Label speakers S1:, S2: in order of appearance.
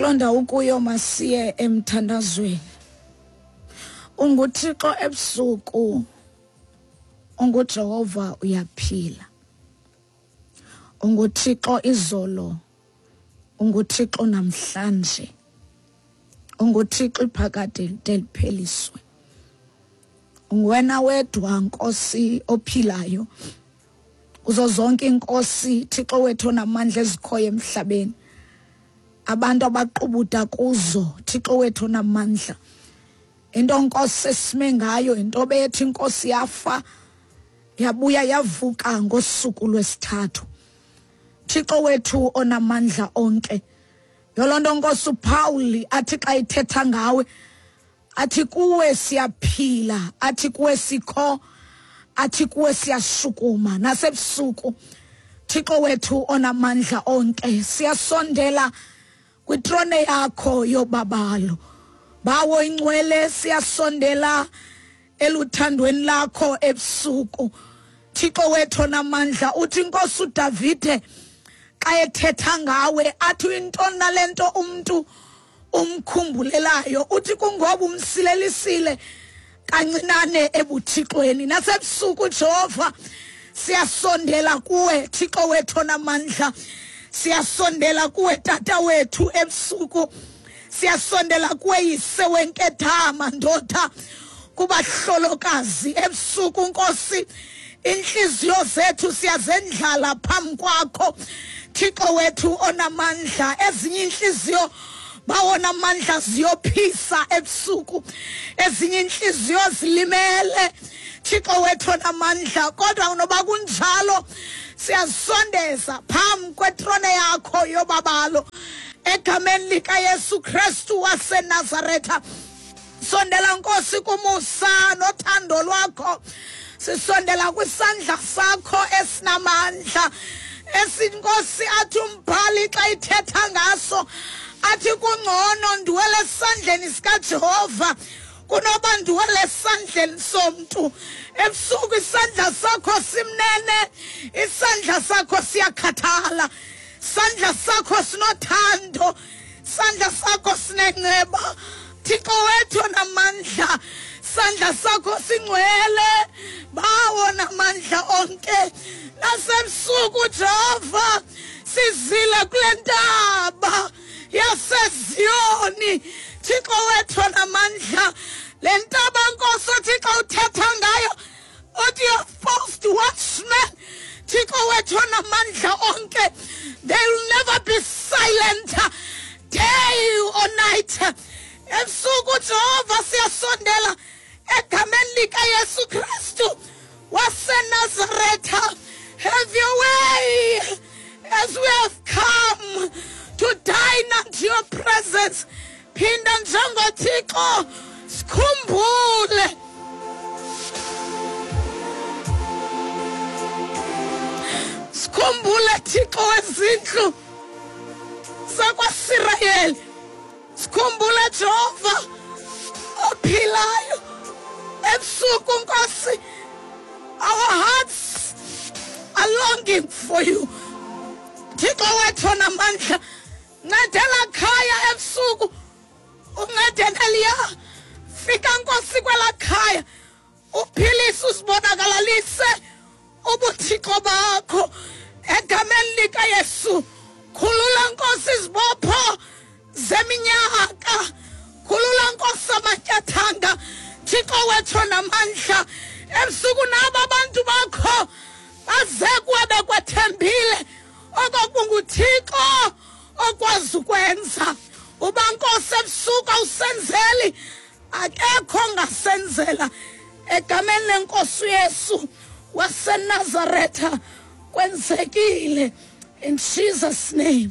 S1: Kuloo ndawo ukuyo masiye emthandazweni. UnguThixo ebusuku, unguJehova uyaphila. UnguThixo izolo, unguThixo namhlanje. UnguThixo iphakade lide lipheliswe. Unguwena wedwa Nkosi ophilayo. Kuzo zonke iinkosi Thixo wethu onamandla ezikhoyo emhlabeni. Abantu abaqubuda kuzo Thixo wethu onamandla. Into Nkosi esime ngayo into bethi inkosi yafa yabuya yavuka ngosuku lwesithathu. Thixo wethu onamandla onke. Yolo nto Nkosi uPaul athi xa ithetha ngawe athi kuwe siyaphila, athi kuwe sikho, athi kuwe siyashukuma nasebusuku. Thixo wethu onamandla onke, siyasondela kwitrone yakho yobabalo. Bawo ingcwele siyasondela eluthandweni lakho ebusuku. Thixo wethu onamandla, uthi inkosi uDavide xa ethetha ngawe athi uyintoni nale nto umntu umkhumbulelayo, uthi kungoba umsilelisile kancinane ebuthixweni. Nasebusuku Jehova siyasondela kuwe Thixo wethu onamandla, siyasondela kuwe Tata wethu ebusuku, siyasondela kuwe Yise wenkedama ndoda kubahlolokazi ebusuku. Nkosi, inhliziyo zethu siyazendlala phambi kwakho Thixo wethu onamandla. Ezinye inhliziyo bawona amandla ziyophisa ebusuku, ezinye inhliziyo zilimele Thixo wethu onamandla, kodwa noba kunjalo siyazisondeza phambi kwetrone yakho yobabalo egameni likaYesu Kristu waseNazaretha. Sondela Nkosi kumusa nothando lwakho, sisondela kwisandla sakho esinamandla esinkosi athi umbhali xa ithetha ngaso athi kungcono ndiwele esandleni sikaJehova kunoba ndiwele esandleni somntu. Ebusuku isandla sakho simnene, isandla sakho siyakhathala, isandla sakho sinothando, sandla sakho sinenceba. Thixo wethu onamandla, sandla sakho singcwele, bawo namandla onke. Nasebusuku Jehova sizile kule ntaba yaseZiyoni, Thixo wethu onamandla. Le ntaba Nkosi Thixo uthetha ngayo uthi your post watchmen, Thixo wethu onamandla onke, they will never be silent day or night. Ebusuku Jehova siyasondela egameni likaYesu Kristu waseNazaretha. Have your way as we have come to dine unto your presence. Phinda njengoThixo sikhumbule. Sikhumbule Thixo wezindlu zakwaSirayeli. Sikhumbule Jehova ophilayo. Ebusuku Nkosi, our hearts are longing for you. Thixo wethu onamandla, ncedela khaya ebusuku, uncede neliya. Fika Nkosi kwela khaya, uphilise, usibonakalalise ubuthixo bakho egameni likaYesu. Khulula Nkosi izibopho zeminyaka, khulula Nkosi amatyathanga. Thixo wethu onamandla, ebusuku nabo abantu bakho baze kuwe bekwethembile okokunguThixo okwazi ukwenza. Uba Nkosi ebusuku awusenzeli, akekho ongasenzela. Egameni lenkosi uYesu waseNazaretha kwenzekile, in Jesus name.